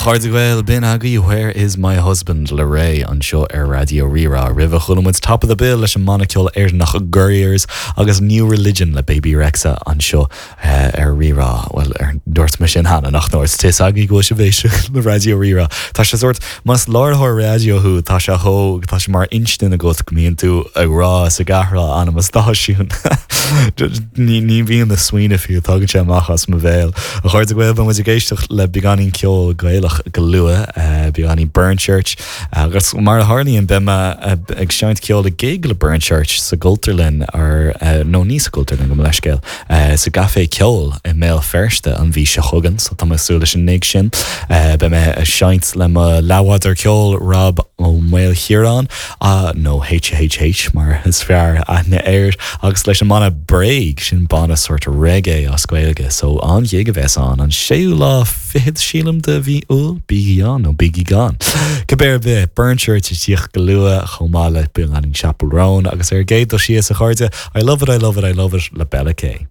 chairde Gael, b'in agaibh Where Is My Husband le Raye anseo ar Raidió Rí-Rá. Roimhe chuala muid Top of the Bill leis an mbanna ceoil Éireannach Gurriers agus New Religion le Bebe Rexha anseo ar Rí-Rá. Bhuel, ar dúirt mé sin cheana, nach ndúirt? Tá 'fhios agaibh go bhfuil sibh ag éisteacht le Raidió Rí-Rá. Tá sé sórt, más láithreoir raidió thú, tá sé chomh, tá sé mar instin agat go mbíonn tú ag rá is ag athrá ainm an stáisiúin. Ní, ní bhíonn na smaoineamh fiú, tagann sé amach as mo bhéal. A chairde Gael, beidh muid ag éisteacht le beagáinín ceol Gaelach go luath, beagáinín Burnchurch, agus mar a tharlaíonn, beidh mé ag seinnt ceoil i gig le Burnchurch sa gCultúrlann, ar, nó ní sa gCultúrlann, gabh mo leithscéal, sa gCaifé Ceoil i mBéal Feirste an mhí seo chugainn, so tá mé ag súil leis an ngig sin. Beidh mé ag seinnt le mo leathbhádóir ceoil, Rob Ó Maoilchiaráin, nó HHH mar is fearr aithne air, agus leis an mbanna Bréag, sin banna sórt reggae as Gaeilge, so an-ghig a bheas ann, an séú lá fichead, sílim, de mhí Iúil, bígí ann nó bígí gan. Cibé ar bith, Burnchurch ag tíocht go luath, chomh maith le beagáinín Chappell Roan, agus ar an gcéad dul síos, a chairde, I love it, I love it, I love it le Bella K.